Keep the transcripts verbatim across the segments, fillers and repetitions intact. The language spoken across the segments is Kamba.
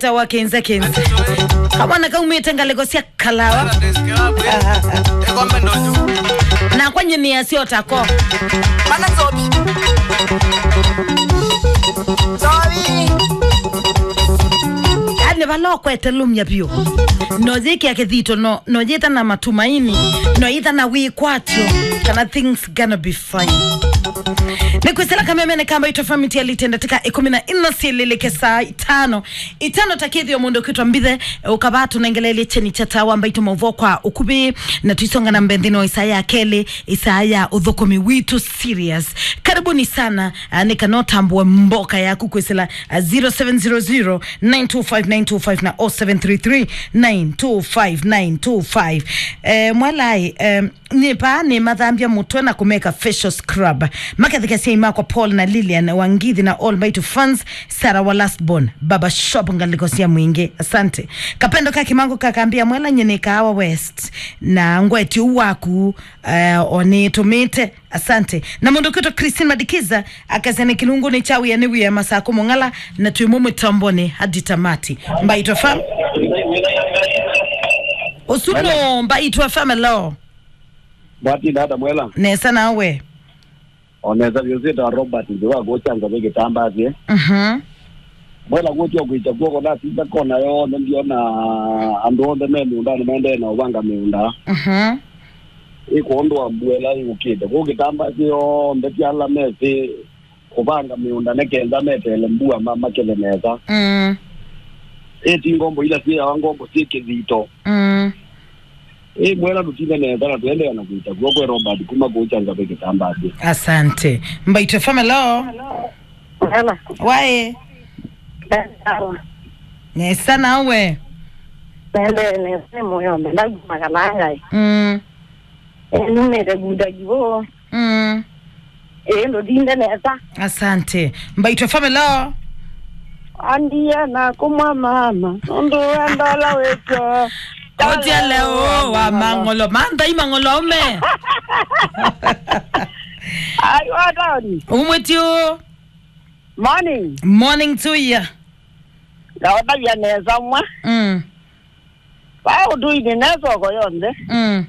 Tawa kenze kenze. Kamwana kaumĩte ngalĩko sya Kalawa. Nakwa nyini ya sio tako. Mana nzobi. Nzobi. Yaani vala ũkwete lumya vyũ. No yĩkĩa kĩthito, no, no yĩta na matumaini, no yĩta na wĩkwatyo, kana things gonna be fine. Nĩ kwĩsĩla kamemene ka Mbaitũ F M itialĩte ndatĩka ĩkũmi na ĩna syĩlĩlĩke saa itano. Itano ta kĩthĩo mũndũ kwĩtwa Mbithe, ũkavaa tũnengeleelye kyeni kya Tawa Mbaitũ maũvoo kwa ũkuvĩ, na tũisonga na mbee nthĩnĩ wa ĩsaa ya kelĩ, ĩsaa ya ũthũkũmi witũ serious. Karibuni sana, ah, nĩ kana ũtambũe mboka yaku kwĩsĩla, ah, zero seven zero zero, nine two five nine two five na oh seven three three, nine two five nine two five. Eh, mwelai, em, Nĩ vaa nĩmathambya mũtwe na kũmeka facial scrub. Makethekesya imakwa Paul na Lilian wa Ngithi na All Mighty fans, Sarah wa Last Born, Baba Shop ngalĩko sya Mwingĩ. Asante. Kapendo ka Kimango kakambia mwela nyene Kaawa West. Na ngweti ũu waku, eh, onĩtũmĩte. Asante. Na mũndũ kwĩtwa Christine Madikiza akasene kĩlungu nĩ cha wĩa nĩ wĩa masako mũng'ala na twĩ mũ mĩtamboni hadi tamati. Mbaitũ F M. Ũsu no Mbaitũ F M, hello. Mwatinda ata mwela? Nesa nawe? O nesa vyũ, syĩtawa Robert, nthĩ wa kũkya nzave kĩtambaa syĩ. Mhm. Mwela kũtya kwĩkya kw'oko, natinda kona yonthe, ndiona andũ onthe me mĩũndanĩ maendee na ũvanga mĩũnda. Mhm. Ĩ kwondũ wa mbua ĩla yũkĩte. Kũu kĩtambaa syĩ yonthe, ti ala mesĩ kũvanga mĩũnda nĩ kenda meteele mbua ma-, makethe nesa. Mm. Ĩ ti ngombo ila syĩawa ngombo syĩ kĩthito. Mm. Ĩ mwela tũtinde nesa na tũendeea na kwĩta kw'o kwĩ Robert kuma kũkya nzave kĩtambaa syĩ. Asante. Mbaitũ F M, hello. Hello. Waĩ? Hello. Nesa nawe? Nende nesa nĩ mũyo mbenda kuma Kalangai. Mm. Ĩ numĩte kuda kivo. Mm. Ĩĩ, ndũtinde nesa. Asante. Mbaitũ F M, hello. Andie na kũmwa mama, nũndũ wenda ũla wĩtwa. Kotya leo wa mang'olo. Mantha i mang'olo aume. Ai, wa taoni. Umwe tio. Morning. Morning to you. Ndaũtavya nesa mwa. Mm. Vaa ũtũinĩ ne soko yonthe. Mm.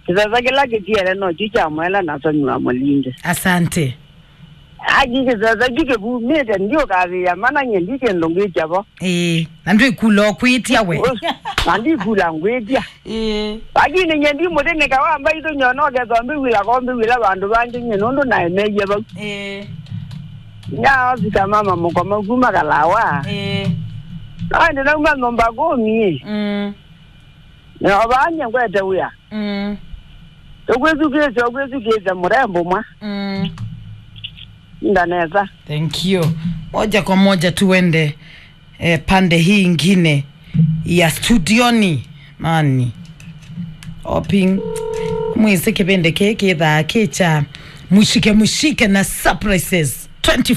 Kĩsese kĩla kĩtiele no kyu kya mwela na Soni wa Mũlindi. Asante. Aki kĩsese kyu kĩvumĩte, ndiũkavĩĩa mana nye ndi kĩndũ ngĩkya vo. Ĩĩ, na ndwĩkula ũkwĩtya we. Na ndikula ngwĩtya. Ĩĩ. Lakini nye ndi mũtĩ nĩka wa Mbaitũ nyona ũkethwa mbĩwĩla ko mbĩwĩla vandũ vangĩ nye nũndũ naemeie vau. Ĩĩ. Nyasika mama mũkoma kuma Kalawa. Ĩĩ. Naende nauma nyũmba kũmi. Mm. Nĩovaa nye ngwete wĩa. Mm. Ũkwĩthukĩĩsya, ũkwĩthukĩĩsya mũrembo mwa. Mm. Ndanesa. Thank you. Moja kwa moja tuende, eh, pande hii ingine ya studioni. Mani. Oping. Mwĩsĩ kĩvĩndĩ kĩĩ kĩthaa kĩ kya mũshike mũshike na surprises. twenty